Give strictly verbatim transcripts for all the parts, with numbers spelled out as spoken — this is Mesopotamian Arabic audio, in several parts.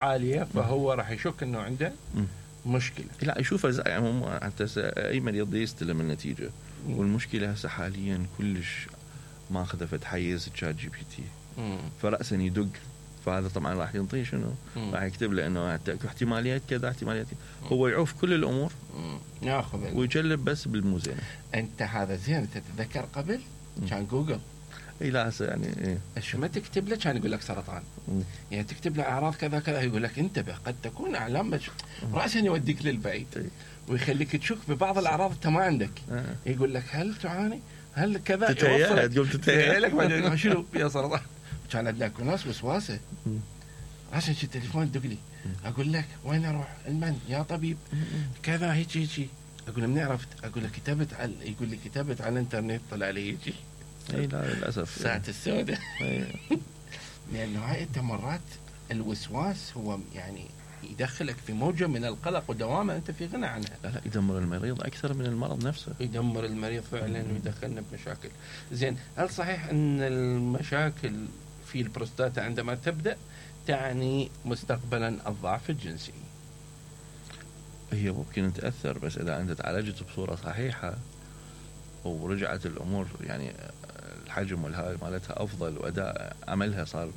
عالية فهو راح يشك انه عنده مشكلة. لا يشوفها يعني حتى اي مريض يستلم النتيجة. والمشكلة هسه حاليا كلش ما خذفت حيز تشات جي بي تي، فرأسا يدق، فهذا طبعا راح ينطيه شنو؟ راح يكتب له انه احتماليات كذا احتماليات كذا. هو يعوف كل الامور ياخذ ويجلب بس بالموزينة. انت هذا زين. تتذكر قبل كان جوجل اي لا هسه يعني إيه؟ شو ما تكتب له كان يقول لك سرطان. مم. يعني تكتب له اعراض كذا كذا يقول لك انتبه قد تكون اعلام مش... راسا يوديك للبعيد. إيه؟ ويخليك تشك ببعض الاعراض انت ما عندك. آه. يقول لك هل تعاني هل كذا تتهيأ تقوم تتهيأ لك بعدين شنو يا سرطان. كان عندك ناس وسواسه عشان شي التليفون دق لي اقول لك وين اروح المن يا طبيب كذا هيك هيك اقول له من عرفت اقول له كتبت على يقول لي كتبت على الانترنت طلع لي هيك. اي لا للاسف ساعة السوداء. لانه هاي انت مرات الوسواس هو يعني يدخلك في موجة من القلق ودوامة انت في غنى عنها. لا لا يدمر المريض اكثر من المرض نفسه. يدمر المريض فعلا ويدخلنا بمشاكل. زين هل صحيح ان المشاكل في البروستاتا عندما تبدأ تعني مستقبلا الضعف الجنسي؟ هي ممكن تأثر بس إذا أنت تعالجت بصورة صحيحة ورجعت الأمور يعني الحجم والهاي مالتها أفضل وأداء عملها صار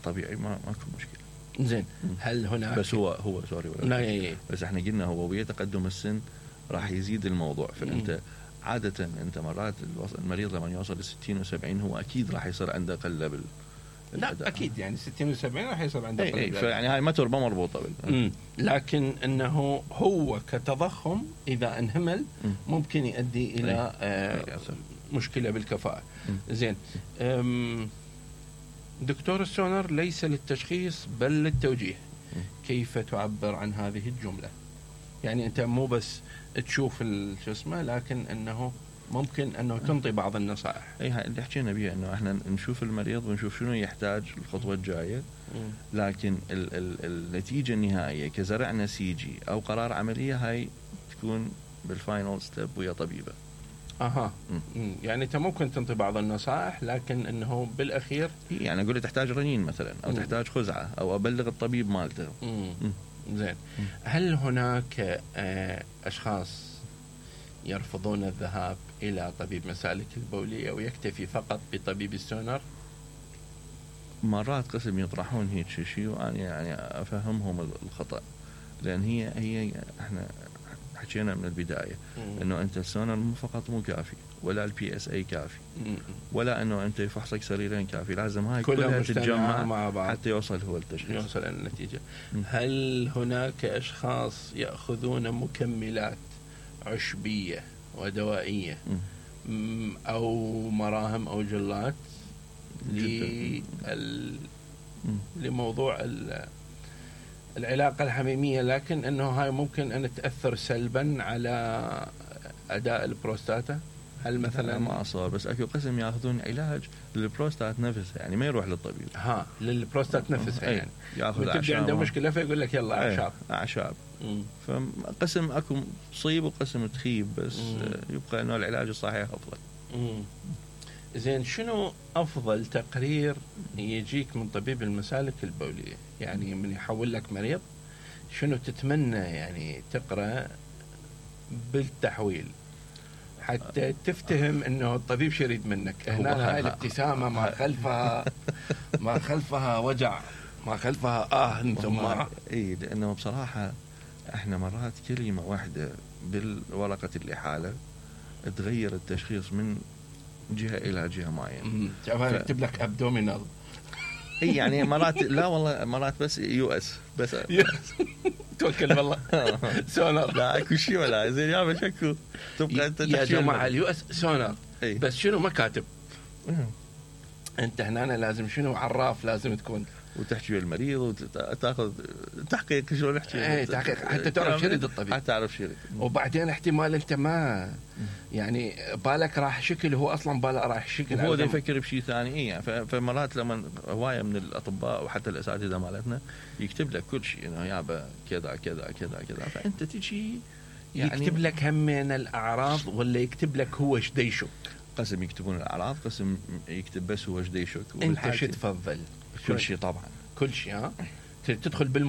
طبيعي ما ماكو مشكلة. زين هل هناك بس هو هو سوري ولا بس احنا قلنا هو ويا تقدم السن راح يزيد الموضوع. فأنت عادة أنت مرات المريض لما يوصل لستين وسبعين هو أكيد راح يصير عنده قلة بال لا أكيد يعني ستين وسبعين راح يصير عنده قلة. اي فيعني هاي ما تربى مربوطة بال. لكن أنه هو كتضخم إذا انهمل ممكن يؤدي إلى آه مشكلة بالكفاءة. زين دكتور السونار ليس للتشخيص بل للتوجيه. كيف تعبر عن هذه الجملة؟ يعني أنت مو بس تشوف شو اسمه لكن أنه ممكن أنه تنطي بعض النصائح. اي هاي اللي حكينا بيها انه احنا نشوف المريض ونشوف شنو يحتاج الخطوة الجاية. لكن ال ال النتيجة النهائية كزرع نسيجي او قرار عملية هاي تكون بالفاينل ستيب ويا طبيبة. اها م. يعني انت ممكن تنطي بعض النصائح لكن انه بالاخير يعني اقول تحتاج رنين مثلا او م. تحتاج خزعة او ابلغ الطبيب مالته. زين هل هناك اشخاص يرفضون الذهاب إلى طبيب مسالك البولية ويكتفي فقط بطبيب السونار؟ مرات قسم يطرحون هيك شيء وأنا يعني أفهمهم الخطأ. لأن هي هي إحنا حكينا من البداية مم. إنه أنت السونار مو فقط مو كافي ولا البي اس اي كافي مم. ولا إنه أنت يفحصك سريرين كافي. لازم هاي كلها تتجمع مع بعض حتى يوصل هو التشخيص يوصل النتيجة. مم. هل هناك أشخاص يأخذون مكملات عشبية ودوائية م. أو مراهم أو جلات لل... لموضوع ال... العلاقة الحميمية لكن أنه هاي ممكن أن تأثر سلبا على أداء البروستاتا؟ هل مثلا ما أصار بس أكو قسم يأخذون علاج للبروستات نفسها يعني ما يروح للطبيب. ها للبروستات نفسها يعني يأخذ أعشاب عنده مشكلة فيقول لك يلا أعشاب أعشاب. فقسم أكو تصيب وقسم تخيب بس مم. يبقى أنه العلاج الصحيح أفضل. مم. زين شنو أفضل تقرير يجيك من طبيب المسالك البولية؟ يعني من يحول لك مريض شنو تتمنى يعني تقرأ بالتحويل حتى تفتهم انه الطبيب شو يريد منك؟ هنا هاي الابتسامة ما خلفها ما خلفها وجع ما خلفها اه انتم ما اي لانه بصراحة احنا مرات كلمة واحدة بالورقة الإحالة تغير التشخيص من جهة إلى جهة معينة. ف... يكتب لك أبدومينال. اي يعني مرات لا والله مرات بس يو اس بس توكل بالله سونار لا اكو شيء ولا زين يا بشكو تبقى انت يا جماعه اليو اس سونار بس شنو ما كاتب انت هنا لازم شنو عراف لازم تكون وتحكي المريض وتاخذ تحقيق شلون نحكي اي تحقيق حتى تعرف شو يريد الطبيب حتى تعرف شو يريد. وبعدين احتمال انت ما يعني بالك راح شكل هو اصلا باله راح شكل هو ده يفكر بشيء ثاني. اي يعني فمرات لما هوايه من الاطباء وحتى الاساتذه مالتنا يكتب لك كل شيء انه يابا كذا كذا كذا كذا فانت تجي يعني يكتب لك هم من الاعراض ولا يكتب لك هو ايش يشك؟ قسم يكتبون الاعراض قسم يكتب بس هو ايش يشك. انت شو تفضل؟ كل شيء طبعا كل شيء. ها تدخل بالم